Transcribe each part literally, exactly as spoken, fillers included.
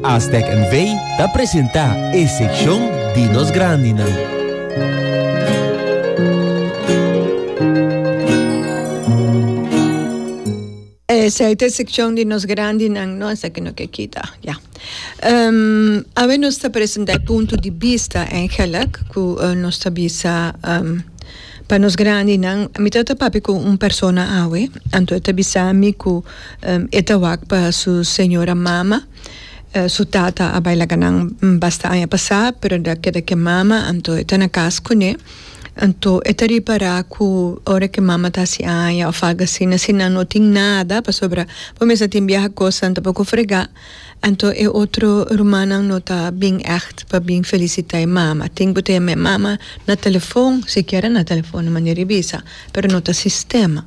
Astec N V ta presentá e sekshon di nos grandinan. Esei ta e sekshon di nos grandinan, no? Esaki no ke kita, ya. Um, awe nos ta presentá e punto di bista eigenlijk, ku uh, nos ta bisa um, pa nos grandinan. Mi tabata papia ku un persona awe, anto e ta bisa mi ku um, e ta wak pa su señora mama. Uh, su tata a bai laga nan basta aña pasá, pero el a keda ku e mama, anto e ta na kas kuné. Anto e ta ripará ku ora ku e mama ta hasi aña òf algu asina, si nan no tin nada, pasobra bo mester tin biaha kosnan tampoko fregá, anto e otro rumannan no ta bin ègt pa bin felisitá e mama. Tin ku ta yama e mama na telefon, sikiera na telefon, manera di bisa, pero no ta sistema.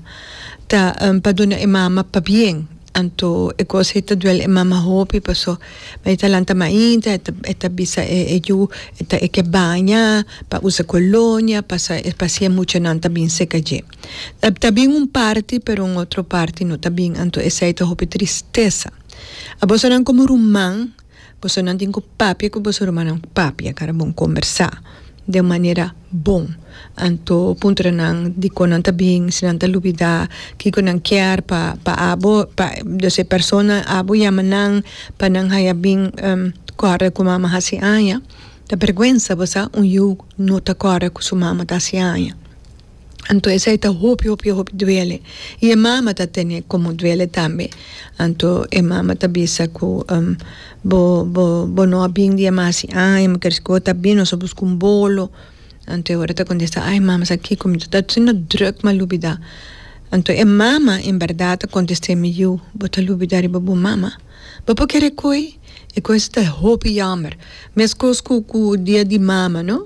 Ta pa duna e mama pabien. Anto e kos ei ta duel e mama hopi paso e ta lanta mainta e ta e ta bisa e e yu e ta e ke baña pa usa kolonia pasa pa si e muchanan ta bin seka dje. Ta bin un parti pero un otro parti no ta bin anto esei ta hopi tristesa. Abosonan komo ruman bosonan tin ku papia ku boso rumannan papia kara bon kombersá. Den un manera bon. Anto puntra nan dikon nan ta bin, si nan ta lubida kiko nan kier pa pa abo, pa dus e persona abo yama nan pa nan haya bin kòrda ku mama hasi aña. Ta bèrgwensa bo sa un yu no ta kòrda ku su mama ta hasi aña. Anto esei ta hopi hopi hopi duele. I e mama ta tene komo duele tambe. Anto e mama ta bisa ku bo bo bo no a bin dia mas hasi aña, mi kere ku bo ta bin nos a buska un bolo. Anto e ora ta kontesta, ai mama sa kiko mi ta asina drùk mi a lubida. Anto e mama en bèrdat ta kontest'é, mi yu, bo ta lubida riba bo mama? Bo por kere koe? E kos ta hopi jammer. Meskos ku ku dia di mama no.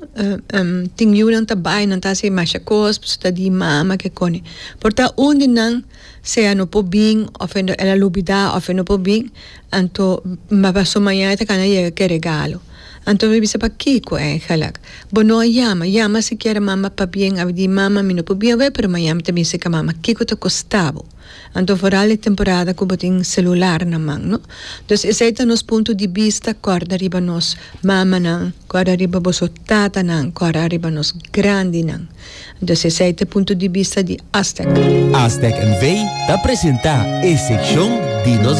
Tin yunan ta bai nan ta hasi masha kos pasobra ta di mama ke kone. Por ta un di nan sea no por bin of el a lubida of e no por bin anto paso mañana e ta kana yega ke regalo. Anto mi bisa pakiko eigenlijk? Bo no a yama. Yama sikiera mama pabien a di mama mi no por bin awe pero mañana mi ta bin seka mama. Kiko ta kosta bo? Anto foral e temporada ku bo tin selular na man, no? Dus esei ta nos punto di bista, kòrda riba nos mamanan, kòrda riba boso tatanan, kòrda riba nos grandinan. Dus esei ta e punto di bista di Astec. Astec N V ta presentá e sekshon di nos.